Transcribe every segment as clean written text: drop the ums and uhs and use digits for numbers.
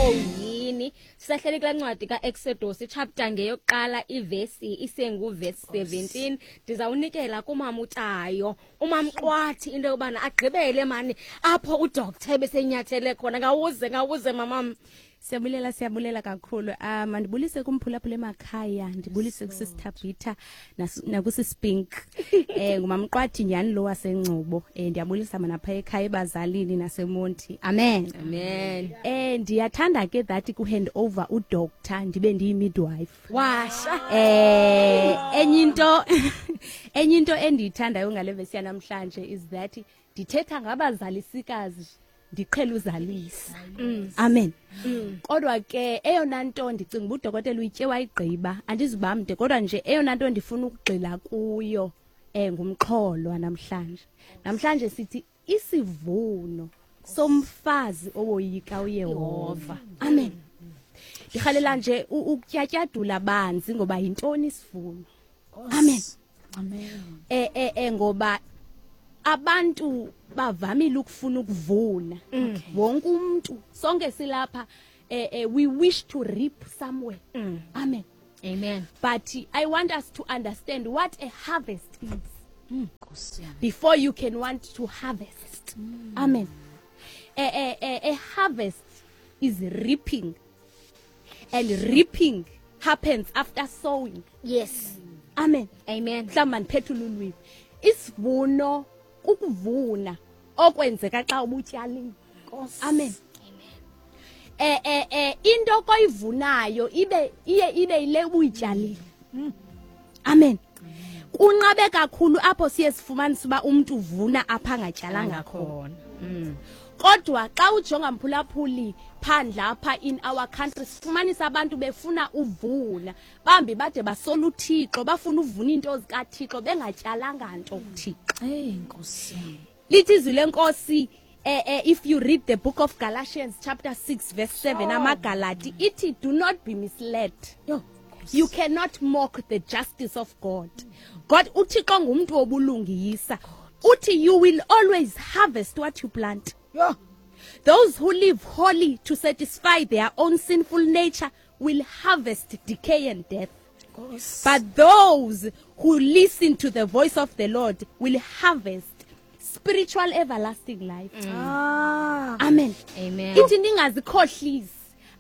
Oyini sisahleli kulaa ncwadi kaExodus, ichapter ngeyokuqala, ivesi isenguvesi 17. Ndizawunikela kumama uTayo, umamQwathi, into yobana agqibele mani apho udoctor ebesenyathele khona. Ngawuze, ngawuze, mamam. Siyabulela, siyabulela kakhulu. Mandibulise kumphulaphula emakhaya, ndibulise kusisithabhitha nakusisipink. Ngumamqwathi nyhani lo waseNgcobo. Ndiyabulisa mana pha ekhaya ebazalini naseMonti. Amen. Amen. Ndiyathanda ke that ku hand over udoctor ndibe ndiyi midwife. Washa. Enye into endiyithandayo ngale vesi yanamhlanje is that ndithetha ngabazalisikazi, ndiqhela uzalisa. Amen. Kodwa ke eyona nto ndicinga uba udokotela uyitye wayigqiba, andizuba mde, kodwa nje eyona nto ndifuna ukugxila kuyo ngumxholo wanamhlanje. Namhlanje sithi isivuno somfazi owoyika uYehova. Amen. Ndirhalela nje ukutyatyadula banzi ngoba yintoni isivuno. Amen. Amen. Ngoba abantu bavamile ukufuna ukuvuna. Wonke umuntu, sonke silapha, we wish to reap somewhere. Amen. Amen. But I want us to understand what a harvest is Nkosi yami. Before you can want to harvest. Amen. A harvest is reaping, and reaping happens after sowing. Amen. Amen. Mhlawumbi mandiphethule ulwimi. Isivuno kukuvuna okwenzeka xa ubutyalile. Nkosi. Amen. Into koyivunayo ibe iye ibe ile ubuyityalile. Amen. Kunqabe kakhulu apho siye sifumanise uba umuntu uvuna apha angatyalanga khona. Kodwa xa ujonga, mphulaphuli, phandle apha in our country, sifumanisa abantu befuna uvuna, bambi bade basola uThixo, bafuna uvuna iinto zikaThixo bengatyalanga nto kuThixo. Hey, Nkosi yami. Lithi izwi lenkosi, if you read the book of Galatians chapter 6 verse 7, amaGalati, ithi, "Do not be misled." Yo. You cannot mock the justice of God. God, uThixo ngumuntu wobulungisa. Uthi you will always harvest what you plant. Yo. Those who live holy to satisfy their own sinful nature will harvest decay and death. Nkosi. But those who listen to the voice of the Lord will harvest spiritual everlasting life. Ah. Amen. Amen. Ithi ningazikhohlisi,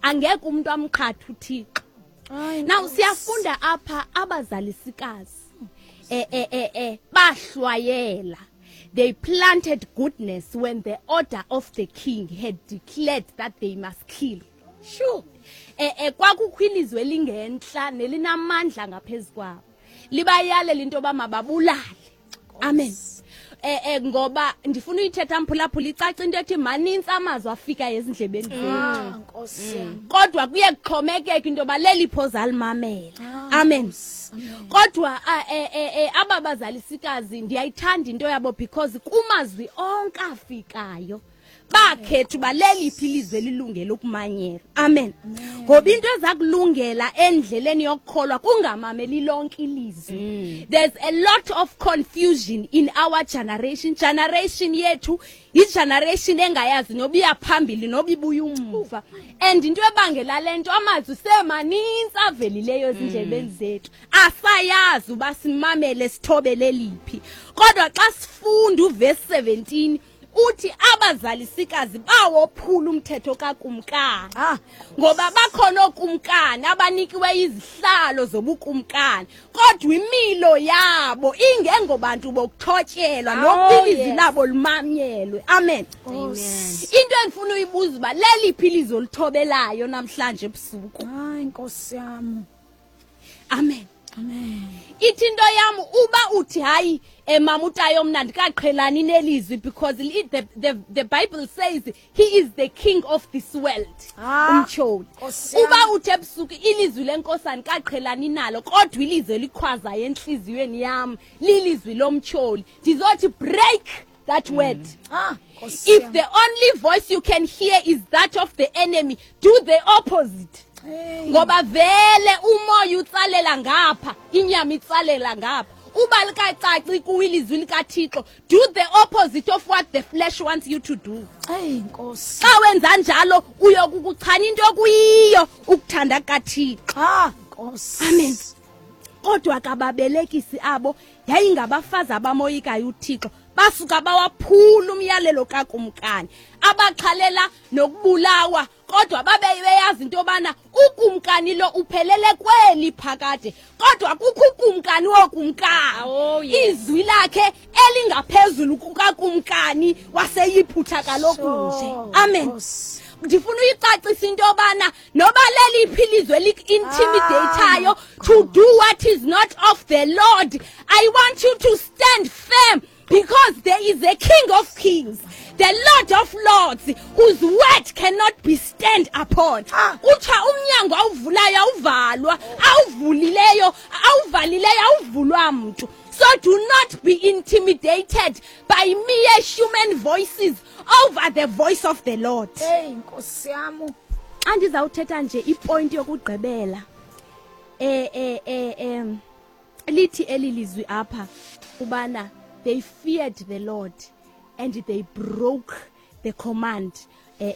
angeke umuntu amqhathe uThixo. Ay, Now Nkosi. siyafunda apha, abazalisikazi bahlwayela. They planted goodness when the order of the king had declared that they must kill. Sure. Kwakukho ilizwe elingentla nelinamandla ngaphezulu kwabo, libayalela into yoba mababulale. Amen. Ngoba ndifuna uyithetha, mphulaphula, icaca into ethi manintsi amazwi afika ezindlebeni zethu. Ah, Nkosi yami. Kodwa kuye kuxhomekeka into yoba lelipho zalimamela. Amen. Kodwa aba bazalisikazi, ndiyayithanda into yabo because kumazwi onke afikayo bakhetha uba leliphi ilizwe elilungele ukumanyelwa. Amen. Ngoba into eza kulungela endleleni yokukholwa kungamameli lonke ilizwi. There's a lot of confusion in our generation. Generation yethu igeneration engayazi noba iyaphambili noba ibuya umva, and into ebangela le nto, amazwi semanintsi avelileyo ezindlebeni zethu, asayazi uba simamele, sithobele liphi. Kodwa xa sifunda uvesi 17, uthi abazalisikazi bawophula umthetho kakumkani. Ah. Ngoba bakhona ookumkani abanikiwe izihlalo zobukumkani, kodwa imilo yabo ingengobantu bokuthotyelwa nokuba ilizwi labo limanyelwe. Amen. Into endifuna uyibuza uba leliphi ilizwi olithobelayo namhlanje ebusuku? Hayi, Nkosi yami. Amen. Amen. Ithi into yam, uba uthi, "Hayi, mama uTayo, mna ndikaqhelani nelizwi," because the Bible says he is the king of this world, Ah, umtyholi. Nkosi yami. Uba uthi ebusuku, "Ilizwi lenkosi andikaqhelani nalo, kodwa ilizwi elikhwazayo entliziyweni yam lilizwi lomtyholi," ndizothi break that word. Ah, Nkosi If yami. the only voice you can hear is that of the enemy, do the opposite. Hey. Ngoba vele umoya utsalela ngapha, inyama itsalela ngapha. Uba likacaci kuwe ilizwi likaThixo, do the opposite of what the flesh wants you to do. Hey Nkosi. Xa wenza njalo uyokukuchana into okuyiyo ukuthanda kukaThixo. Ah Nkosi. Amen. Kodwa kababelekisi abo yayingabafazi abamoyikayo uThixo, basuka bawaphula umyalelo kakumkani, abaxhalela nokubulawa, kodwa babe beyazi into yobana ukumkani lo uphelele kweli phakade, kodwa kukho ukumkani wokumkani. Oh, yes. Izwi lakhe elingaphezulu kukakumkani waseYiphutha kaloku nje. Sure, Amen. Nkosi. Ndifuna uyicacisa into yobana noba leliphi ilizwe liku-intimidateayo to do what is not of the Lord, I want you to stand firm, because there is a King of Kings, the Lord of Lords, whose word cannot be stand upon. Ah. Kuthiwa umnyango awuvulayo awuvalwa, awuvulileyo awuvalileyo awuvulwa mntu. So do not be intimidated by mere human voices over the voice of the Lord. Hey Nkosi yami. Xa ndizawuthetha nje ipointi yokugqibela, lithi eli lizwi apha ubana they feared the Lord and they broke the command of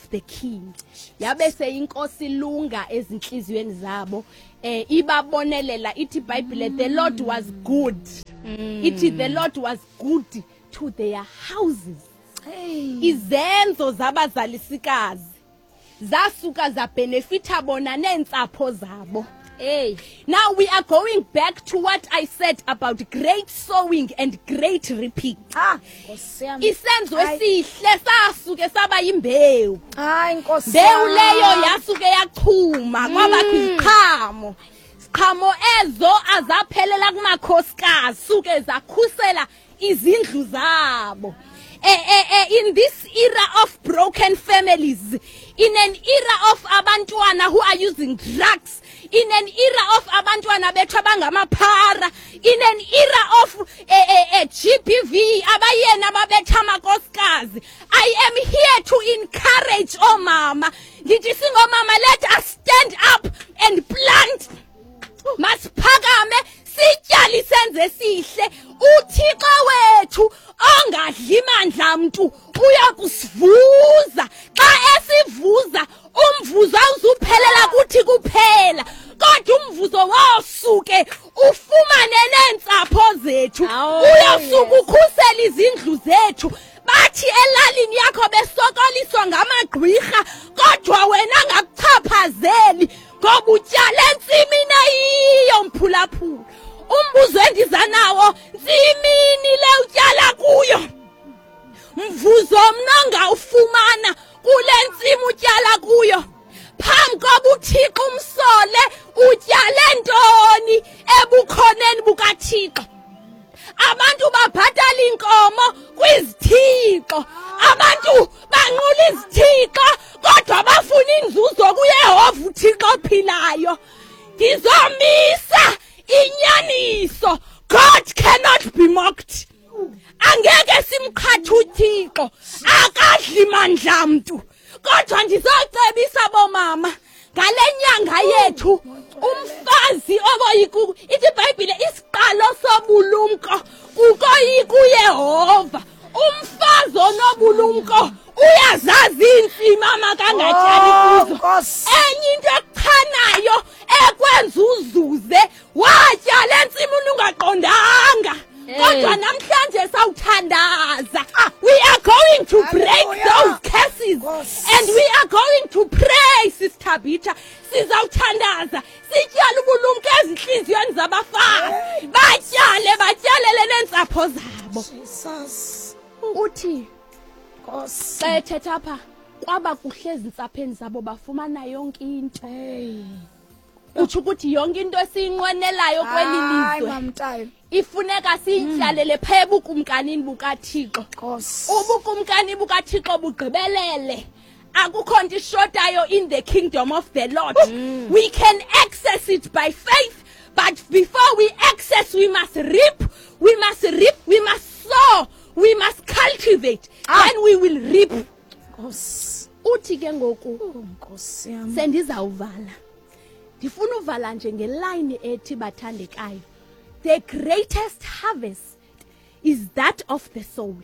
the king. Yabe seyinkosi ilunga ezinhliziyweni zabo, ibabonelela. Ithi iBhayibhile, the Lord was good. Ithi the Lord was good to their houses. Hey. Izenzo zabazalisikazi zasuka zabenefita bona neentsapho zabo. Hey. Now we are going back to what I said about great sowing and great reaping. Ah Nkosi yami. Isenzo Hayi. esihle sasuke saba yimbewu. Hayi Nkosi. Mbewu leyo yami. yasuke yachuma kwabakho iziqhamo. Siqhamo ezo azaphelela kumakhosikazi, suke zakhusela izindlu zabo. In this era of broken families, in an era of abantwana who are using drugs, in an era of abantwana bethu abangamaphara, in an era of GBV, abayena babetha amakhosikazi, I am here to encourage omama. Ngithi singomama, let us stand up and plant. Masiphakame sityale isenzo esihle. uThixo wethu ongadli mandla mntu uyakusivuza. Xa esivuza umvuzo awuzuphelela kuthi kuphela, kodwa umvuzo wosuke ufumane neentsapho zethu. Awu, Uyosuka yes. ukhusele izindlu zethu. Bathi elalini yakho besokoliswa ngamagqwirha, kodwa wena ngakuchaphazeli ngoba utyale entsimini eyiyo. Mphulaphula, umbuzo endiza nawo, ntsimini le utyala kuyo, mvuzo mna ongawufumana kule ntsimi utyala kuyo? Phambi koba uThixo umsole, utyale ntoni ebukhoneni bukaThixo? Abantu babhatala inkomo kwizithixo, abantu banqula izithixo, kodwa bafuna inzuzo kuYehova uThixo ophilayo. Ngizomisa inyaniso, God cannot be mocked. Angeke simqhathe uThixo, akadli mandla mntu. Kodwa ndizocebisa bomama ngale nyanga yethu, umfazi oboyiku, ithi iBhayibhile isiqalo sobulumko kukoyika uYehova. Umfazi onobulumko uyazazi iintsimi amakangatyali Oh, kuzo. Nkosi. Enye into ekuchanayo ekwenza uzuze, watyala entsimini ungaqondanga. Hey. Kodwa namhlanje sawuthandaza. We are going to break Hallelujah. those curses Nkosi. and we are going to pray, Sister Bita. Sizawuthandaza sityale ubulumko ezinhliziyweni zabafazi, batyale batyalele neentsapho zabo. Jesus. Uthi Nkosi. xa ethetha apha, kwaba kuhle ezintsapheni zabo, bafumana yonke into. Hey. Utsho ukuthi yonke into esiyinqwenelayo kweli Hayi lizwe mamtayo. ifuneka siyityalele phaa ebukumkanini bukaThixo. Nkosi. Ubukumkani bukaThixo bugqibelele, akukho nto ishotayo in the kingdom of the Lord. We can access it by faith, but before we access, we must reap. We must reap, we must sow, we must cultivate. Ah. Then we will reap. Nkosi. Uthi ke ngoku Oh, Nkosi yami. sendizawuvala. Ndifuna uvala nje ngelayini ethi, bathandekayo, the greatest harvest is that of the soul.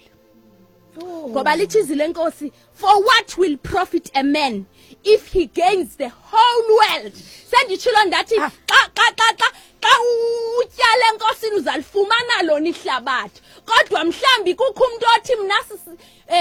Ngoba lithi izwi lenkosi, for what will profit a man if he gains the whole world? Senditshilo ndathi xa xa xa xa xa utyala enkosini uzalifumana lona ihlabathi, kodwa mhlawumbi kukho umntu othi mna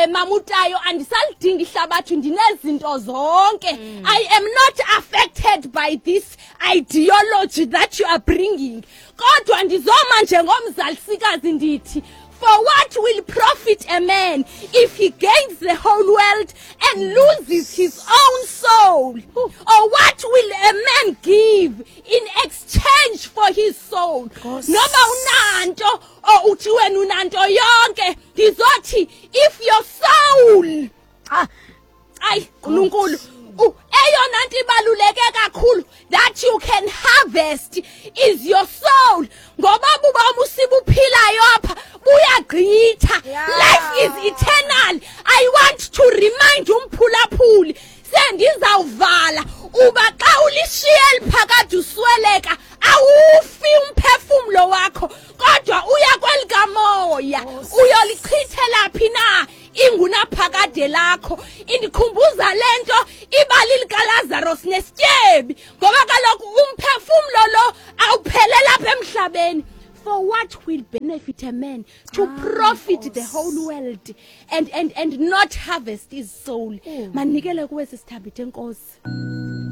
mamutayo andisalidingi ihlabathi, ndinezinto zonke. I am not affected by this ideology that you are bringing. Kodwa ndizoma njengomzalisikazi ndithi, for what will profit a man if he gains the whole world and loses his own soul? Or what will a man give in exchange for his soul? Noba unanto or uthi wena unanto yonke, ndizothi if your soul, ayi uNkulunkulu, eyona nto ibaluleke kakhulu that you can harvest is your soul, ngoba bubomi usibuphilayo apha buyagqitha. Life is eternal. I want to remind umphulaphuli, sendizawuvala, uba xa ulishiye eliphakade usweleka, awufi umphefumlo wakho, kodwa uya kwelikamoya. Uyolichithela phi na ingunaphakade lakho? Indikhumbuza le nto ibali likaLazaros nesityebi, ngoba kaloku umphefumlo lo awuphelela apha emhlabeni. For what will benefit a man to profit the whole world and not harvest his soul? Manikele kuwe, sisithabithe, enkosi.